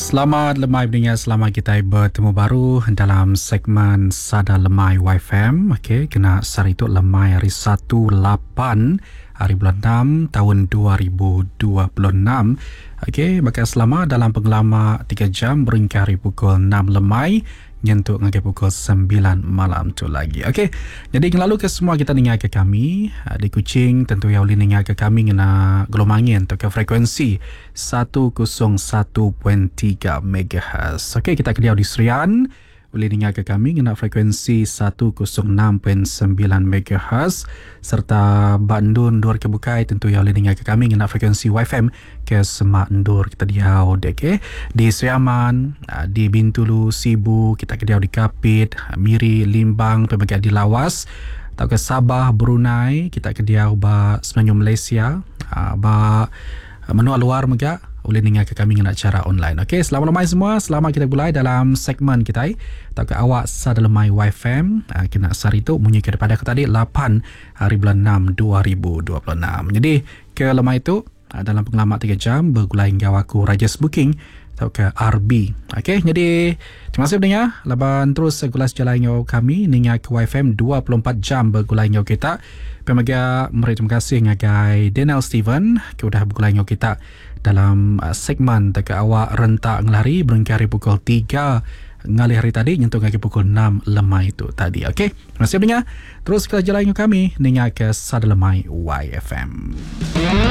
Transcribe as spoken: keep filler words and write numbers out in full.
Selamat lemai pendengar, selamat kita bertemu baru dalam segmen Sada Lemai Y F M. Okey, kena sehari itu lemai hari satu lapan hari bulan enam tahun dua ribu dua puluh enam. Okey, bakal selama dalam pengelama tiga jam berengkah hari pukul enam lemai nyentuk ngagai pukul sembilan malam tu lagi. Okey, jadi lalu ke semua kita dengar ke kami ah, di Kuching, tentu yang boleh dengar ke kami ngena gelombang angin atau ke frekuensi seratus satu perpuluhan tiga M H. Okey, kita ke di Serian boleh dengar ke kami ngena frekuensi seratus enam perpuluhan sembilan M H serta Bandung Dur ke bukai, tentu yang boleh dengar ke kami ngena frekuensi Y F M ke semak endur kita diau dek, okay? Di Sriaman, ah, di Bintulu, Sibu, kita ke diau di Kapit, Miri, Limbang, pemegang di Lawas atau ke Sabah, Brunei, kita ke diau ba Semenanjung Malaysia, ah, ba menua luar mega boleh dengar ke kami ngena cara online. Okey, selamat lemai semua. Selamat kita mulai dalam segmen kita atau ke awak Sada Lemai Y F M. Ah, kena sehari itu bunyi kepada aku tadi lapan hari bulan enam dua ribu dua puluh enam. Jadi ke lemai itu ah, dalam pengalaman tiga jam bergulai hingga aku Rajes Booking atau ke R B. Okey, jadi terima kasih pendengar. Laban terus gulas jalan ngau kami ninga ke Y F M dua puluh empat jam bergulai ngau kita. Pemaga meri terima kasih ngagai Daniel Steven ke udah bergulai ngau kita dalam uh, segmen teka awak rentak ngelari berengkah hari pukul tiga ngalih hari tadi nyentuh ngagai pukul enam lemai itu tadi. Okey, terima kasih pendengar. Terus ke jalan ngau kami ninga ke Sada Lemai Y F M.